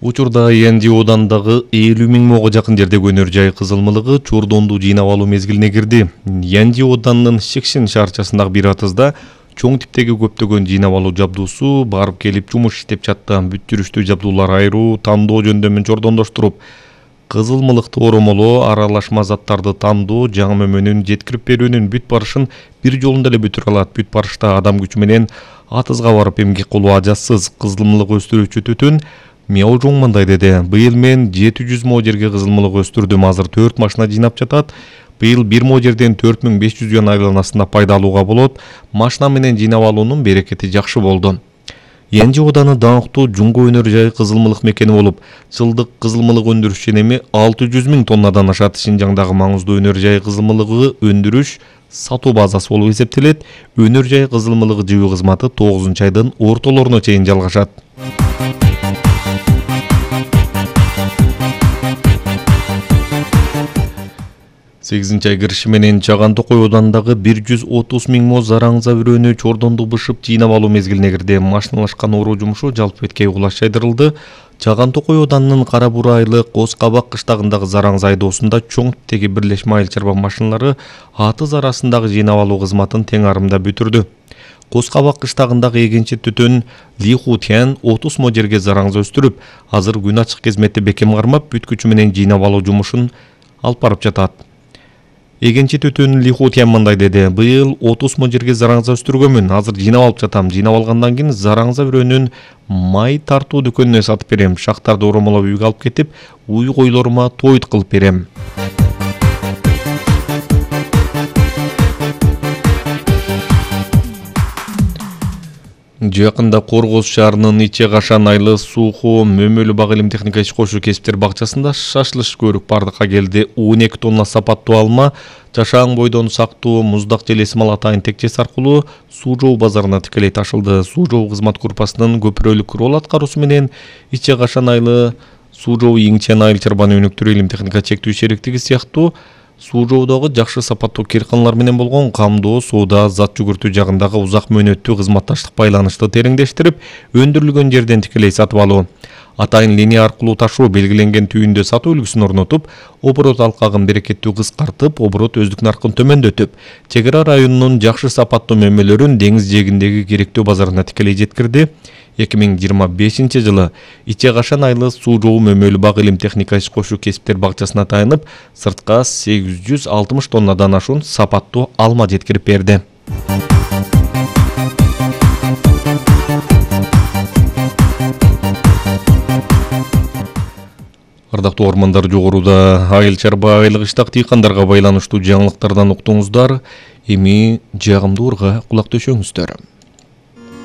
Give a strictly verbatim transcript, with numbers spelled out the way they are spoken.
Учурда Янди оодандагы элүү миң мыңга жакын жердеги өнөр жай кызылмылыгы чордонду жыйнап алуу мезгилине кирди. Янди ооданынын Шекшин шаарчасындагы бир атызда чоң типтеги көптөгөн жыйнап алуу жабдуусу барып келип жумуш иштеп жатты. Бүт жүрүштүү жабдуулар айыруу, тандоо жөндөмүн жордондоштуруп, кызылмылыкты оромолоо, аралашма заттарды тандоо, жаңы мөмөнүн жеткирип берүүнүн бүт барышын бир жолунда эле бүтүрө алат. Бүт барышта адам күчү менен атызга барып эмгек кылуу ажатсыз. Кызылмылык өстүрүүчү түтүн Мияу Жоң мындай деди: быйыл мен жети жүз мо жерге кызылмылык өстүрдүм. Азыр төрт машина жыйнап жатат. Быйыл бир мо жерден төрт миң беш жүз юан айланасында пайда алууга болот. Машина менен жыйнап алуунун берекети жакшы болду. Янди ооданы даңктуу жунго өнөр жай кызылмылык мекени болуп, жылдык кызылмылык өндүрүш ченеми алты жүз миң тоннадан ашат. Шинжаңдагы маңыздуу өнөр жай кызылмылыгы өндүрүш сатуу базасы болуп эсептелет. Өнөр жай кызылмылыгы жыйуу кызматы тогузунчу айдын ортолоруна чейин жалгашат. сегизинчи ай кириши менен Чаган Токой оодандагы бир жүз отуз миң мо зараңза бүрөөнү чордонду бышып жыйнап алуу мезгилине кирди. Машиналашкан оруу жумушу жалпы бетке угулаш жайдырылды. Чаган Токой ооданынын Кара Бура айылы Коз Кабак кыштагындагы зараңза айдоосунда чоң типтеги бирлешме айыл чарба машиналары атыз арасындагы жыйнап алуу кызматын тең арымда бүтүрдү. Коз Кабак кыштагындагы эгенчи түтүн Ли Хутян отуз мо жерге зараңза өстүрүп, азыр күн ачык кезметте бекем кармап, бүт күчү менен жыйнап алуу жумушун алып барып жатат. Эгенчи түтүн Ли Хутян мындай деди: быйыл отуз мо жерге зараңза өстүргөнмүн. Азыр жыйнап алып жатам. Жыйнап алгандан кийин зараңза бүрөөнүн май тартуу дүкөнүнө сатып берем. Шактарды оромолоп үйгө алып кетип, уй койлорума тоют кылып берем. Жакында Коргоз шаарынын Иче Кашан айылы Суухо Мөмөлү Бак илим техника иш кошуу кесиптер бакчасында шашлыш көрүк бардыкка келди. он эки тонна сапаттуу алма, жашаан бойдон сактуу муздак желесимал атайын текчес аркылуу Суу Жоо базарына тикелей ташылды. Суу Жоо кызмат группасынын көпүрөлүк рол аткаруусу менен Иче Кашан айылы Суу Жоо Иңчен айыл чарбаны өнүктүрүү илим техника чектүү шериктиги сыяктуу Суу Жоодогу жакшы сапаттуу кыйрканалар менен болгон камдоо, соода, зат жүгүртүү жагындагы узак мөөнөттүү кызматташтык байланышты тереңдештирип, өндүрүлгөн жерден тикелей сатып алуу, атайын линия аркылуу ташуу, белгиленген түйүндө сатуу үлгүсүн орнотуп, оборот алкагын берекеттүү кыскартып, оборот өздүк наркын төмөндөтүп, чек ара районунун жакшы сапаттуу мөмөлөрүн деңиз жээгиндеги керектүү базарына тикелей жеткирди. эки миң жыйырма бешинчи жылы Иче Кашан айылы Суу Жоо Мөмөлү Бак илим техника иш кошуу кесиптер бакчасына таянып, сыртка сегиз жүз алтымыш тоннадан ашуун сапаттуу алма жеткирип берди. Ардактуу ормандар, жогоруда айыл чарба айлык иштак дыйкандарга байланыштуу жаңылыктардан уктуңуздар. Эми жагымдуу урга кулак төшөңүздөр.